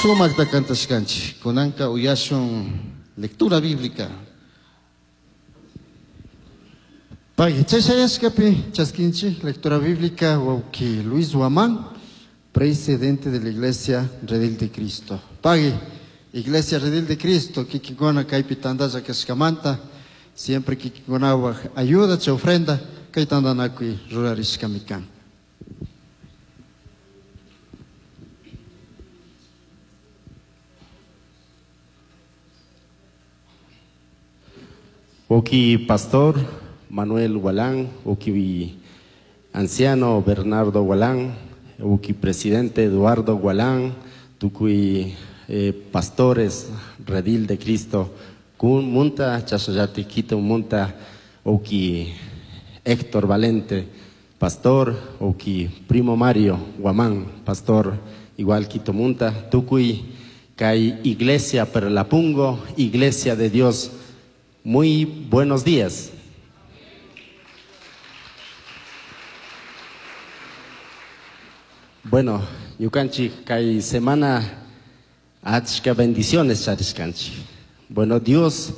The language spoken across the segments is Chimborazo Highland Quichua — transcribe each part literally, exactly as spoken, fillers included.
Sumakta kantashkanchik. Kunanka uyashun lectura bíblica. Pagui, chayashkapi chaskinchik lectura bíblica wawki Luis Guamán, presidente de la Iglesia Redil de Cristo. Pagui, Iglesia Redil de Cristo, kikinkuna kaypi tantalla kashkamanta, siempre kikinkunapaj ayuda chay ofrenda, kay tantanakuy rurarishkami kan. Oki pastor Manuel Gualán, Oki anciano Bernardo Gualán, Oki presidente Eduardo Gualán, Tukui eh, pastores Redil de Cristo, Kun Munta, Chasayati Quito Munta, Oki Héctor Valente, pastor, Oki Primo Mario Guamán, pastor, igual Quito Munta, Tukui Kai Iglesia Perlapungo, Iglesia de Dios. Muy buenos días. Bueno, ñukanchik kay semana achka bendiciones charishkanchik. Bueno, Dios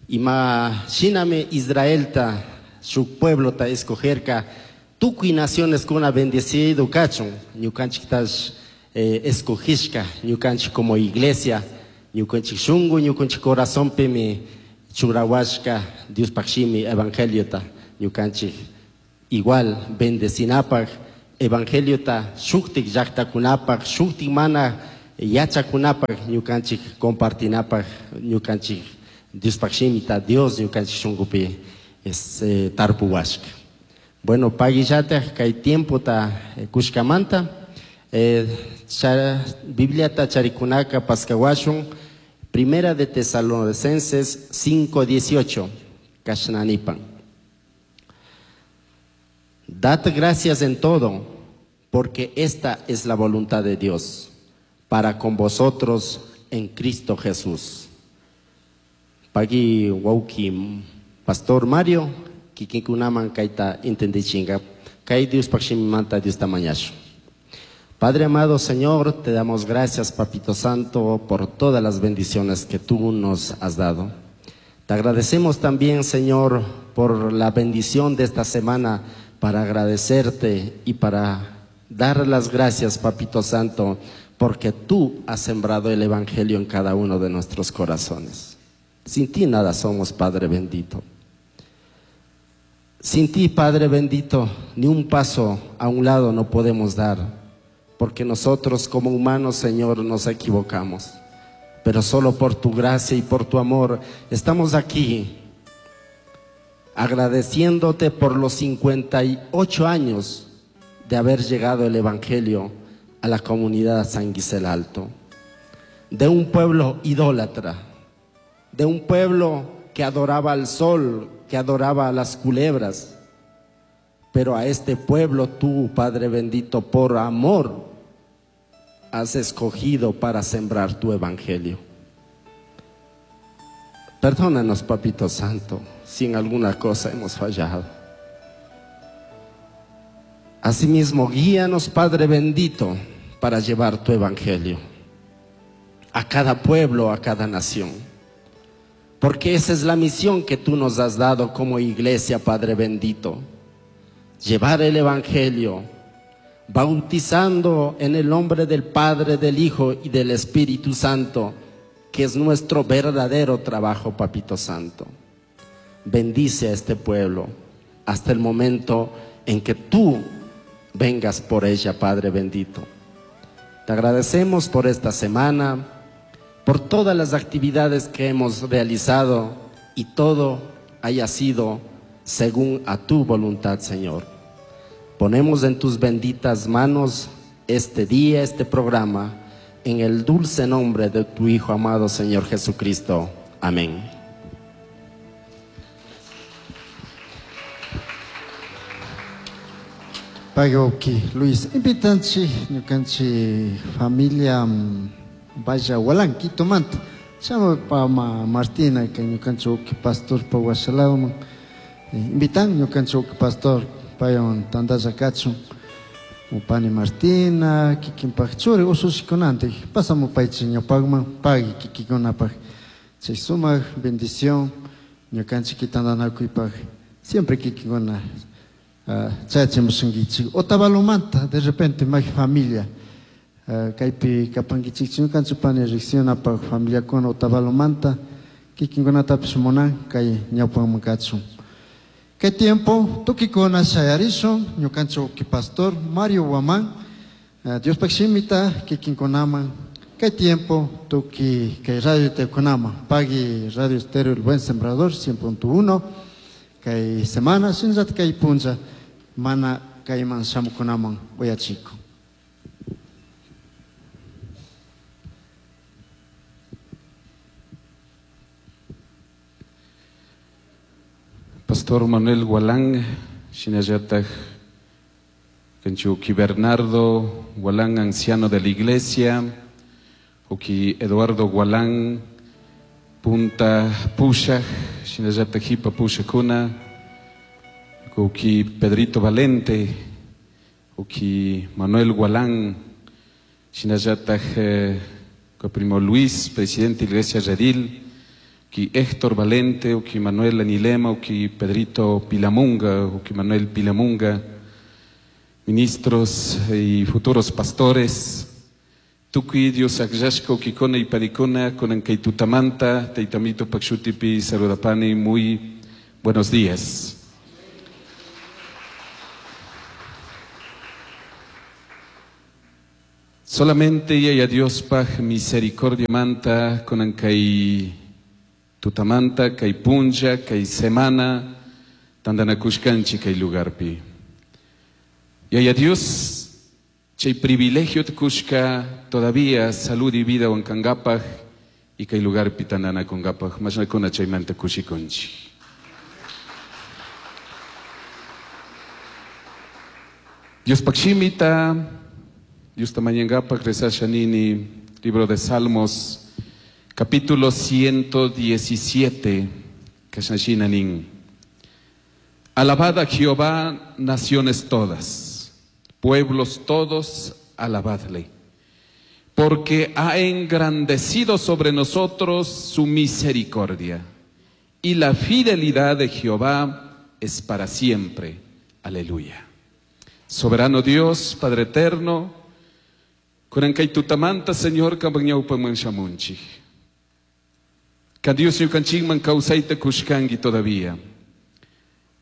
ima shinami Israelta shuk pueblota escogerka tukuy naciones kuna bendecido kachun. Ñukanchiktash eh, escogishka, ñukanchik como iglesia, ñukanchik shungu, ñukanchik corazonpimi churawashka Diospaj shimi evangeliota ñukanchik igual bendecinapaj evangeliota shuktik llaktakunapaj shuktik mana yachakunapaj ñukanchik compartinapaj ñukanchik Diospaj shimita Dios ñukanchik shunkupi es eh, tarpuwashka. Bueno, paguillataj kay tiempota eh, kushkamanta eh, cha, Bibliata charikunaka paskawashun Primera de Tesalonicenses cinco dieciocho, Kashnanipan. Dad gracias en todo, porque esta es la voluntad de Dios para con vosotros en Cristo Jesús. Pagui wauki Pastor Mario, kikinkunaman kaita entendichinga, kai Dios pakshimimanta Dios tamañashu. Padre amado Señor, te damos gracias, Papito Santo, por todas las bendiciones que tú nos has dado. Te agradecemos también, Señor, por la bendición de esta semana, para agradecerte y para dar las gracias, Papito Santo, porque tú has sembrado el Evangelio en cada uno de nuestros corazones. Sin ti nada somos, Padre bendito. Sin ti, Padre bendito, ni un paso a un lado no podemos dar, porque nosotros como humanos, Señor, nos equivocamos. Pero solo por tu gracia y por tu amor estamos aquí agradeciéndote por los cincuenta y ocho años de haber llegado el Evangelio a la comunidad San Gisel Alto, de un pueblo idólatra, de un pueblo que adoraba al sol, que adoraba a las culebras. Pero a este pueblo tú, Padre bendito, por amor, has escogido para sembrar tu Evangelio. Perdónanos, Papito Santo, si en alguna cosa hemos fallado. Asimismo, guíanos, Padre bendito, para llevar tu Evangelio a cada pueblo, a cada nación. Porque esa es la misión que tú nos has dado como iglesia, Padre bendito. Llevar el Evangelio, bautizando en el nombre del Padre, del Hijo y del Espíritu Santo, que es nuestro verdadero trabajo, Papito Santo. Bendice a este pueblo hasta el momento en que tú vengas por ella, Padre bendito. Te agradecemos por esta semana, por todas las actividades que hemos realizado y todo haya sido según a tu voluntad, Señor. Ponemos en tus benditas manos este día, este programa, en el dulce nombre de tu Hijo amado, Señor Jesucristo. Amén. Pagoki, Luis, invitanchi, ñukanchi familia, vaya Gualán, Quito Manta. Chama pa ma Martina, que ñukanchi uki pastor pa Guasalauman. Invitan ñukanchi uki pastor payon tandalla kachun. Pani Martina, kikinpaq churi usushikunantik pasamupaychik ñawpakman pagui kikinkunapaq chay sumaq bendición ñukanchik tantanakuypaq siempre kikinkuna chayachimushunkichik. Otavalomanta de repente may familia kaypi kapankichik ñukanchik pani riqsinapaq familiakuna Otavalomanta kikinkunatapish munan kay ñawpakman kachun. Kay tiempo tukikuna shayarishun ñukanchik pastor Mario Guamán Diospaq shimita kikinkunaman kay tiempo tuki kay radio tekunaman pagui Radio Estéreo El Buen Sembrador cien punto uno kay semana shinallat kay punlla mana kayman shamukunaman uyachiko. Pastor Manuel Gualán, shinallataj Kenchuki Bernardo Gualán, anciano de la iglesia, Uki Eduardo Gualán, Punta Pushaj, shinallataj Hipa Pushakuna, Uki Pedrito Valente, Uki Manuel Gualán, shinallataj eh, primo Luis, presidente de la iglesia Redil, Uki Héctor Valente, Uki Manuel Anilema, Uki Pedrito Pilamunga, Uki Manuel Pilamunga, ministros y futuros pastores, tukuy Dios akllashka ukikuna y parikuna, kunan kay tutamanta, taytamito pakshutipi saludapani, muy buenos días. Solamente yaya Dios paj misericordia manta, kunan kay tutamanta, kay punlla, kay semana, tandanakushkanchi kay lugarpi. Yaya Dios, chay privilegio tkushka todavía salud y vida wankangapaj y kay lugarpi tandanakungapaj, mashnakuna chaymanta kushikunchi. Dios pakshimita, Dios tamañangapaj rezasha nini, libro de Salmos, capítulo ciento diecisiete, kashnashina nin. Alabad a Jehová, naciones todas, pueblos todos, alabadle, porque ha engrandecido sobre nosotros su misericordia, y la fidelidad de Jehová es para siempre. Aleluya. Soberano Dios, Padre eterno, kunan kay tutamanta, Señor, kambang ñawpaman shamunchik. Ka Dios ñukanchikman kawsayta kushkanki todavía.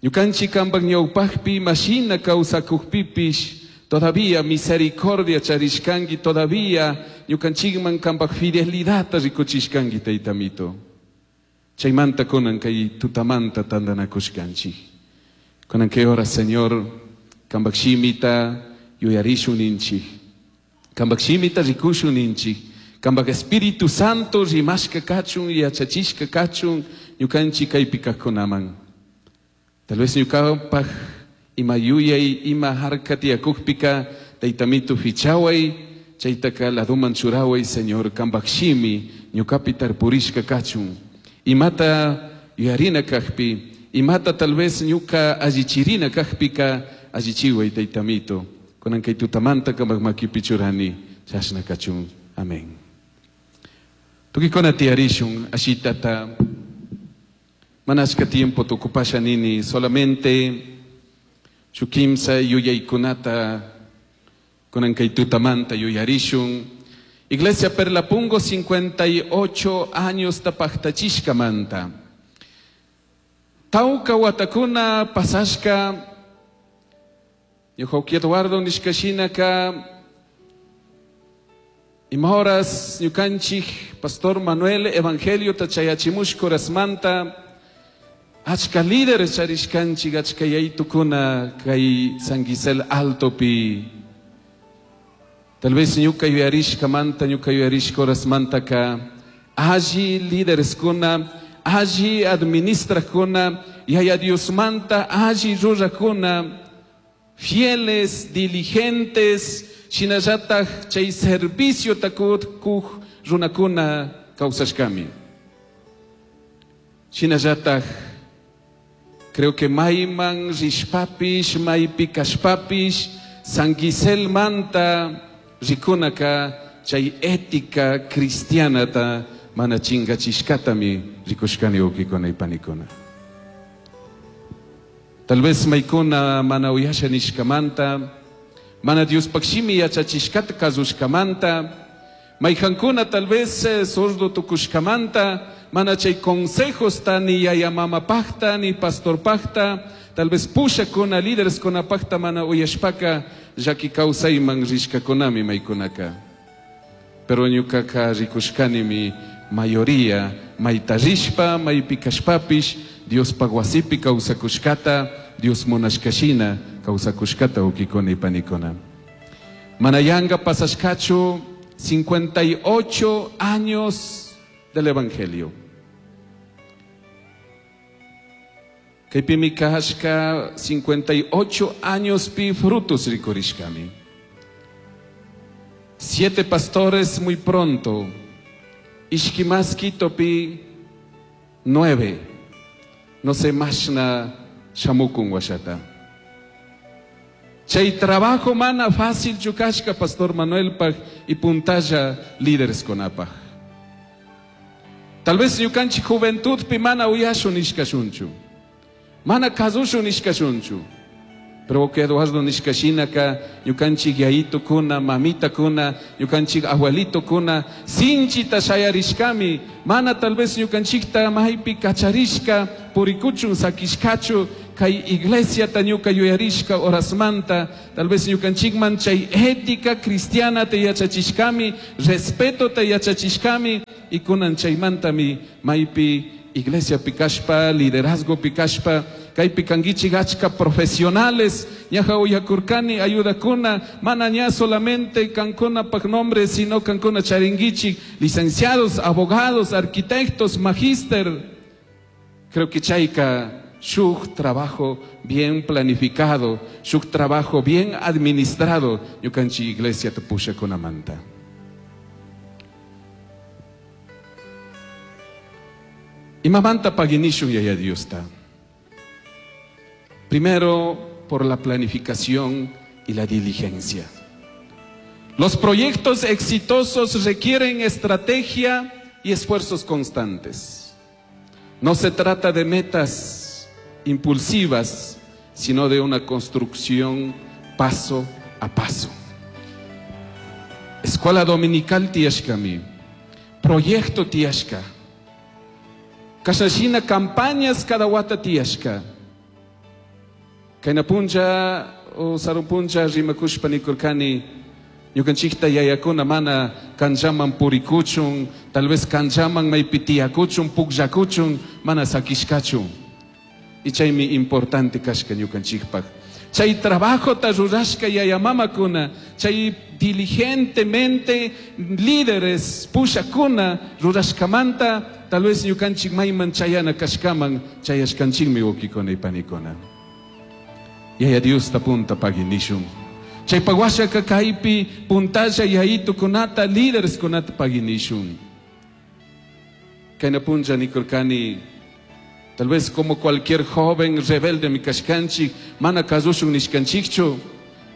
Ñukanchik kambang ñawpaqpi mashina kawsakukpipish todavía misericordia charishkanki, todavía ñukanchikman kambaq fidelidadta rikuchishkanki, taytamito. Chaymanta kunan kay tutamanta tantanakushkanchik. Kunan kay hora, Señor, kambaq shimita yuyarishun ninchik. Kambaq shimita rikushun ninchik. Kambaq Espíritu Santo rimashka kachun, yachachishka kachun, ñukanchik kaypi kaqkunaman. Tal vez ñukanpaj ima yuyay, ima harka tiyakukpika, taytamitu fichaway, chaytaka laduman churaway, Señor, kambaq shimi, ñukapi tarpurishka kachun. Imata yuyarina kaqpi, imata tal vez ñuka allichirina kaqpika, allichiway, taytamito. Kunan kay tutamanta kambaq makipi churani, chashna kachun. Amén. Tukikuna tiyarishun, ashitata, manashka tiempo tukupasha nini, solamente shukimsa yuyaykunata, kunan kay tutamanta yuyarishun. Iglesia Perlapungo, cincuenta y ocho años tapaktachishka manta. Tauka watakuna pasashka, ñuqawki Eduardo nishkashinaka, ima horas ñukanchik Pastor Manuel Evangelio tachayachimushka horasmanta, achka líderes charishkanchik, achka yaytukuna kay San Gisel Altopi. Tal vez ñuka yuyarishkamanta, ñuka yuyarishka horasmantaka, alli lídereskuna, alli administrakuna, yaya Diosmanta alli rurakuna, fieles, diligentes, shinallataj chay servicio takuq runakuna kawsashkami. Shinallataj creo que mayman rishpapish, maypi kashpapish, San Giselmanta rikunaka chay ética cristianata mana chingachishkatami rikushkani wawkikuna y panikuna. Tal vez maykuna mana uyasha nishkamanta, mana Diospaj shimi yachachishkata kasushkamanta, mayjankuna tal vez eh, sordo tukushkamanta, mana chay consejosta ni yaya mama pajta ni pastor pajta, tal vez pushakuna líderes kuna pajta mana uyashpaka llaki kawsayman rishkakunami maykunaka. Pero ñukaka rikushkanimi mayoría mayta rishpa maypi kashpapish Diospaj wasipi kawsakushkata, Dios munashkashina kawsakushkata wawkikuna y panikuna. Mana yanga pasashkachu cincuenta y ocho años del Evangelio. Kaypimi kashka cincuenta y ocho años pi frutos rikurishkami. Siete pastores muy pronto. Ishkimaski topi nueve. No sé mashna shamukun washata. Chay trabajo mana fácil chukashka Pastor Manuel paj y puntalla líderes konapaj. Tal vez ñukanchik juventud pi mana uyashun ishkashunchu. Mana kasushun ishkashunchu. Pero que Eduardo nishkashinaka ñukanchik yayito kuna, mamita kuna, ñukanchik abuelito kuna, sinchita shayarishkami, mana tal vez ñukanchikta maypi kacharishka, purikuchun sakishkachu, kay iglesia ta ñuka yuyarishka horasmanta, tal vez ñukanchikman chay ética cristiana te yachachishkami, respeto te yachachishkami, y kunan chaymantami maypi iglesia pikashpa, liderazgo pikashpa, kaypi kankichik achka profesionales, ñaja uyakurkani ayudakuna, mana ña solamente kankuna pak nombre, sino kankuna charinguichik, licenciados, abogados, arquitectos, magíster. Creo que chayka shuk trabajo bien planificado, shuk trabajo bien administrado, ñukanchik iglesia tupusha kunamanta. Imamanta paginishun yaya Diosta. Primero, por la planificación y la diligencia. Los proyectos exitosos requieren estrategia y esfuerzos constantes. No se trata de metas impulsivas, sino de una construcción paso a paso. Escuela Dominical tiashkami, proyecto tiashka, kashashina campañas cada wata tiashka. Kayna puncha o sarun puncha rimakushpa nikurkani, ñukanchikta yayakuna mana kanchaman purikuchun, tal vez kanchaman maypi tiyakuchun, pukllakuchun, mana sakishkachun. Y chaymi importante kashka ñukanchikpaj. Chay trabajo ta rurashka yaya mamakuna, chay diligentemente líderes pushakuna rurashkamanta, tal vez ñukanchik mayman chayana kashkaman chayashkanchikmi wawkikuna y panikuna. Yaya Dios ta punta paginishun. Chay paguashaka kaypi puntalla yayitu kunata líderes kunata paginishun. Kayna punlla nikurkani, tal vez como cualquier joven rebelde mi kashkanchik, mana kasushun nishkanchikchu,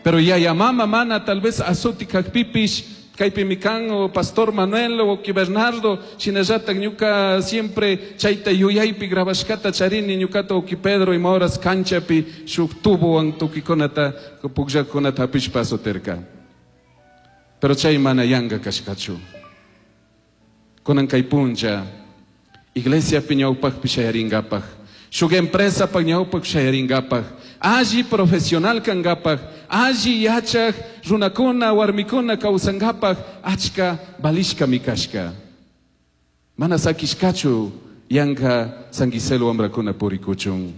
pero yaya mama mana tal vez azuti kakpipish, kaypi mikan o Pastor Manuel o ki Bernardo, shinallata ñuka siempre chayta yuyaypi grabashkata charini ñukata o ki Pedro ima horas canchapi shuk tubowan tukikunata pukllakunata hapishpa azoterka. Pero chay mana yanga kashkachu. Kunan kay puncha, iglesia pi ñawpakpi shayaringapaj, shuk empresa pa ñawpak shayaringapaj, alli profesional kangapaj, alli yachaj runakuna warmikuna kawsangapaj, achka balishka mikashka. Mana sakishkachu yanka San Giselo wamrakuna purikuchun.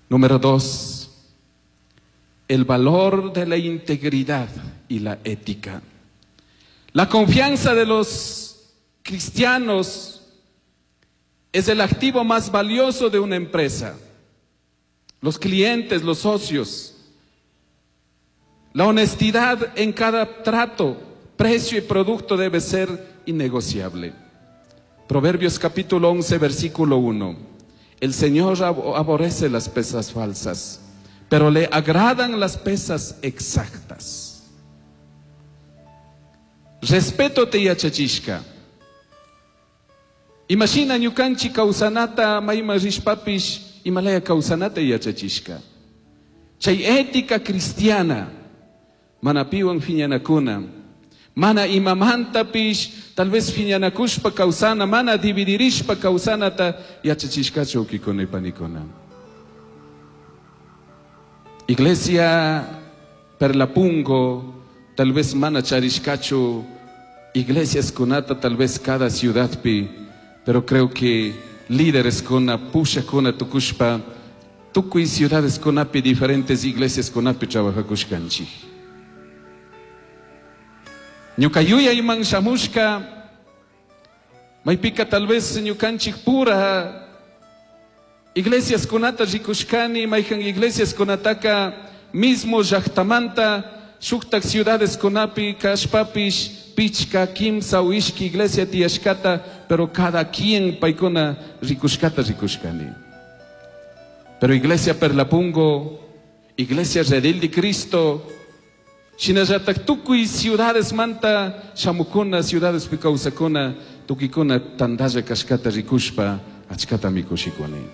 Número dos, el valor de la integridad y la ética. La confianza de los cristianos es el activo más valioso de una empresa. Los clientes, los socios. La honestidad en cada trato, precio y producto debe ser innegociable. Proverbios capítulo once, versículo uno. El Señor aborrece las pesas falsas, pero le agradan las pesas exactas. Respeto te yachachishka. Imashina ñukanchik kawsanata mayman rishpapish imalaya kawsanata yachachishka. Chay ética cristiana mana piwan phiñanakuna, mana imamantapish tal vez phiñanakushpa kawsana, mana dividirishpa kawsanata yachachishkachu wawkikuna y panikuna. Iglesia Perlapungo tal vez mana charishkachu iglesias kunata tal vez cada ciudadpi, pero creo que líderes kuna pushakuna tukushpa tukuy ciudades kunapi diferentes iglesias kunapi trabajakushkanchik. Ñuka yuyayman shamushka maypika tal vez ñukanchik pura iglesias kunata rikushkani, mayjan iglesias kunataka mismo llaqtamanta shuktak ciudades kunapi kashpapish pichka kimsa o ishki iglesia tiyashkata, pero cada quien paykuna rikushkata rikushkani. Pero iglesia Perlapungo, iglesia Redil de Cristo, shinallatak tukuy ciudades manta shamukuna, ciudades kawsakuna, tukikuna tandalla kashkata rikushpa achkata mikushikuni.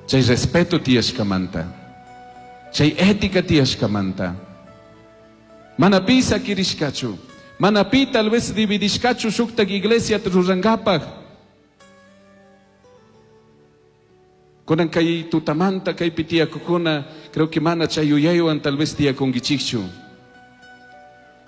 Chay respeto tiyashkamanta, chay ética tiyashkamanta, mana pi sakirishkachu, mana pi tal vez dividishkachu shuktak iglesia rurankapak. Kunan kay tutamanta kaypi tiyakukuna, creo que mana chay yuyaywan tal vez tiyakunkichikchu.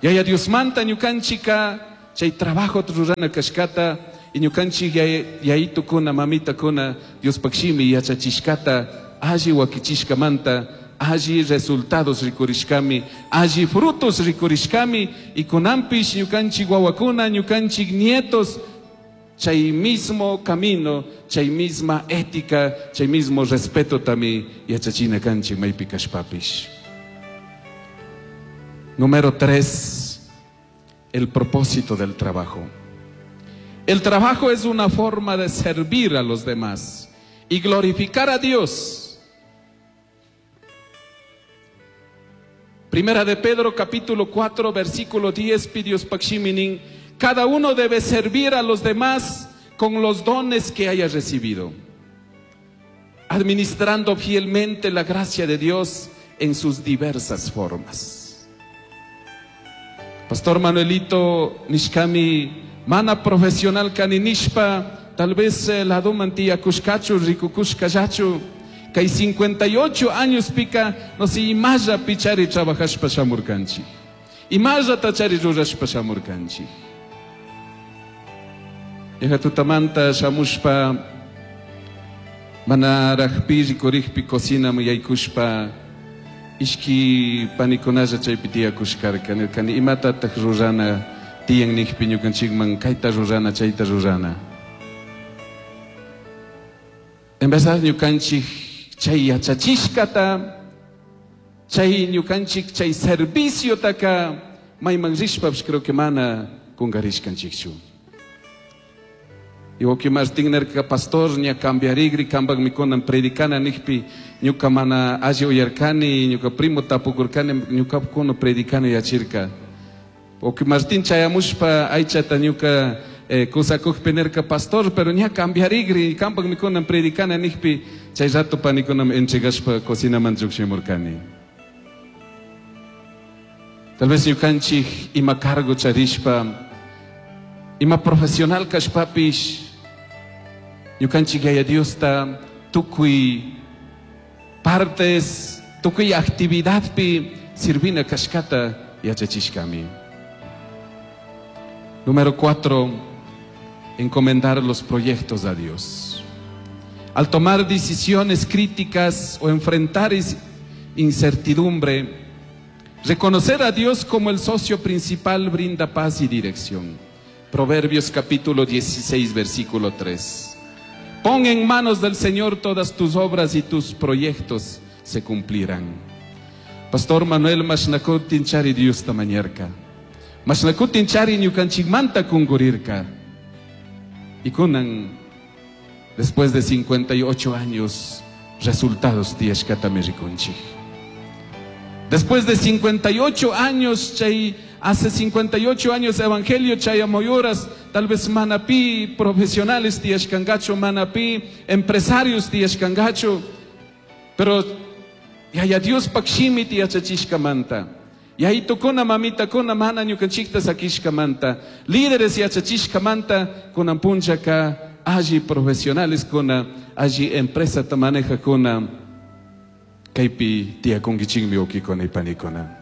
Yaya Diosmanta ñukanchika chay trabajo rurana kashkata y ñukanchik yayitukuna mamitakuna Diospaq shimi yachachishkata alli wakichishkamanta alli resultados rikurishkami, alli frutos rikurishkami y kunanpish ñukanchik wawakuna ñukanchik nietos chay mismo camino, chay misma ética, chay mismo respeto tami yachachina kanchik maypi kashpapish. Número tres, el propósito del trabajo. El trabajo es una forma de servir a los demás y glorificar a Dios. Primera de Pedro capítulo cuatro versículo diez pidios pakshiminin, cada uno debe servir a los demás con los dones que haya recibido, administrando fielmente la gracia de Dios en sus diversas formas. Pastor Manuelito nishkami mana profesional kaninishpa, tal vez laduman tiyakushkachu rikukushkallachu, kay cincuenta y ocho años pika no sé imalla pichari trabajashpa shamurkanchik, imalla tachari rurashpa shamurkanchik. Yaja tutamanta shamushpa manarajpi rikurikpi cocinaman yaykushpa ishki panikunalla chaypi tiyakushkarka, nirkani imatataq rurana tiyan nijpi ñukanchikman kayta rurana chayta rurana. En verdad ñukanchik chay yachachishkata, chay ñukanchik chay serviciotaka mayman rishpapish creo que mana kunkarishkanchikchu. Y wawqi Martín nirka pastor ña cambiarigri kambak mikunan predicana nijpi ñuka mana alli uyarkani, ñuka primo tapukurkani, ñuka kuno predicana yachirka. Wawqi Martín chayamushpa aychata ñuka eh, kusakukpi nirka pastor, pero ña cambiarigri kambak mikunan predicana nijpi chay rato panikunam entregashpa cocinaman lluqshimurkani. Tal vez ñukanchik ima cargo charishpa, ima profesional kashpapish, ñukanchik Yaya Diosta tukuy partes, tukuy actividadpi sirvina kashkata yachachishkami. Número cuatro, encomendar los proyectos a Dios. Al tomar decisiones críticas o enfrentar incertidumbre, reconocer a Dios como el socio principal brinda paz y dirección. Proverbios capítulo dieciséis, versículo tres. Pon en manos del Señor todas tus obras y tus proyectos se cumplirán. Pastor Manuel mashnakutin chari Dios tamañerka. Mashnakutin chari ñukanchikmanta kungurirka. Y kunan, después de cincuenta y ocho años, Resultados tiyashkatami rikunchik. Después de cincuenta y ocho años, chay, hace cincuenta y ocho años evangelio chayamoyoras, tal vez manapi profesionales tiyashkangachu, manapi empresarios tiyashkangachu, pero yaya Dios pakshimi tiyachachishkamanta, yayitukuna mamitakuna mana ñukanchikta sakishkamanta, líderes yachachishkamanta, kunan punchaka alli profesionales kuna, alli empresa ta maneja kuna, kaypi tiyakunkichikmi wawkikuna y panikuna.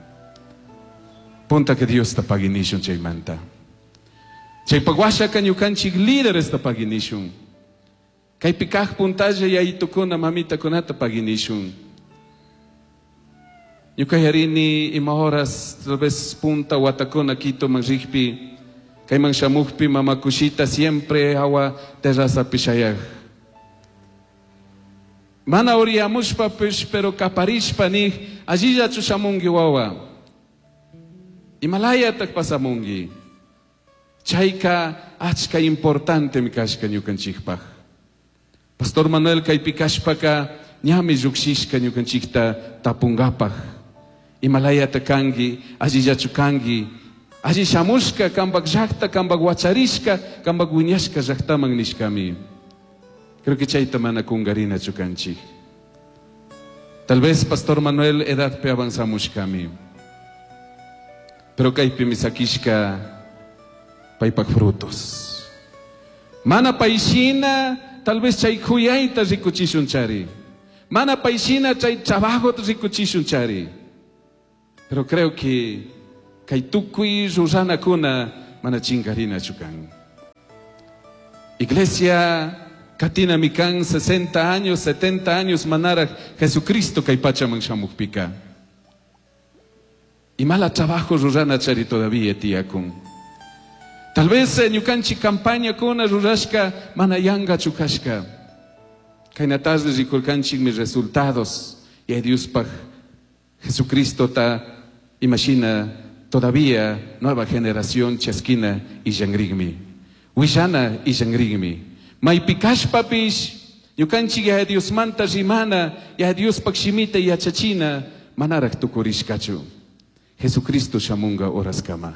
Punta que Dios ta paginishun chaymanta. Chaypaq washaka ñukanchik líderes ta paginishun. Kaypi kaq puntalla yayitukuna mamitakunata paginishun. Ñukayarini ima horas tal vez punta watakuna Quitoman rikpi, kayman shamukpi mamakushita siempre hawa terrazapi shayaq. Mana uriyamushpapish, pero kaparishpa nih, allillachu shamunki wawa. Imalayataq pasamunki. Chayka achka importante mi kashka ñukanchikpaq. Pastor Manuel kaypi kashpaka ñami llukshishka ñukanchikta tapungapaq. Imalayata kanki, allillachu kanki, alli shamushka kanpak llaqta, kanpak wacharishka, kanpak wiñashka llaqtaman nishkami. Creo que chayta mana kungarinachu kanchik. Tal vez Pastor Manuel edadpi avanzamushkami. Pero kaypi misakishka paypak frutos. Mana payshina tal vez chay khuyayta rikuchishun chari. Mana payshina chay trabajota rikuchishun chari. Pero creo que kay tukuy ruranakuna mana chinkarinachu kan. Iglesia katina mikan sesenta años, setenta años manaraj Jesucristo kay pachaman shamukpika. Y mala trabajo rurana chari todavía tiyakun. Tal vez ñukanchi campaña kuna rurashka mana yanga chukashka. Kayna tarde rikurkanchik mis resultados. Y a Dios paj Jesucristo ta imagina todavía nueva generación chasquina y yangrigmi. Wishana y yangrigmi. Maypikashpapish ñukanchik ya Dios manta rimana ya Dios pakshimita yachachina manaraj tukurishkachu. Jesucristo shamunga oraskama.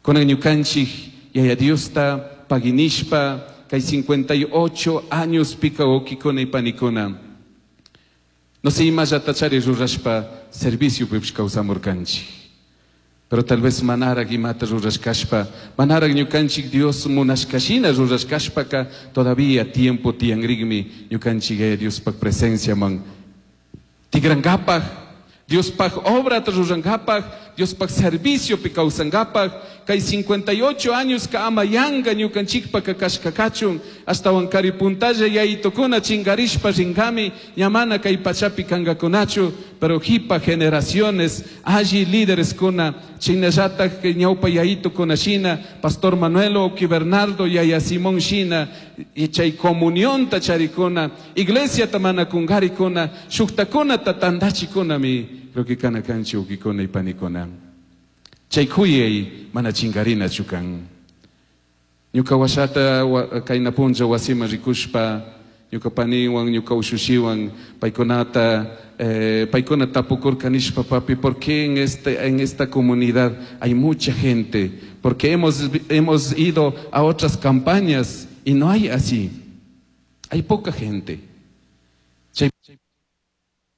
Kunan ñukanchik yaya Diosta paginishpa kay cincuenta y ocho años pika wawkikuna y panikuna. No sé imallata chari rurashpa servicio pipish kawsamurkanchik. Pero tal vez manaraj imata rurashkashpa, manaraj ñukanchik Dios munashkashina rurashkashpaka todavía tiempo tiyanrikmi ñukanchik yaya Diospak presencia man tigrankapaj, Diospaj obra rurankapaj, Diospaj servicio pi kawsankapaj, kay cincuenta y ocho años ka ama yanga ñukanchikpa kashkakachun, hasta wankari puntalla yayitukuna chingarishpa rinkami, ñamana kay pachapi kangakunachu, pero hipa generaciones, alli líderes kuna, chinallataj ñawpa yayitukuna shina, Pastor Manuel Oki Bernardo, Yaya Simón shina, y chay comunión tacharikuna, iglesia tamana kungarikuna, shuktakuna tatandachikuna mi, creo que kana kanchi ukikuna y panikuna. Chay kuyay mana chingarina chukan. Ñuka washata kayna puncha wasima rikushpa, ñuka paniwan, ñuka ushushiwan, paykunata, eh, paykuna tapukurkanishpa, papi, ¿por qué en, este, en esta comunidad hay mucha gente? Porque hemos, hemos ido a otras campañas y no hay así. Hay poca gente.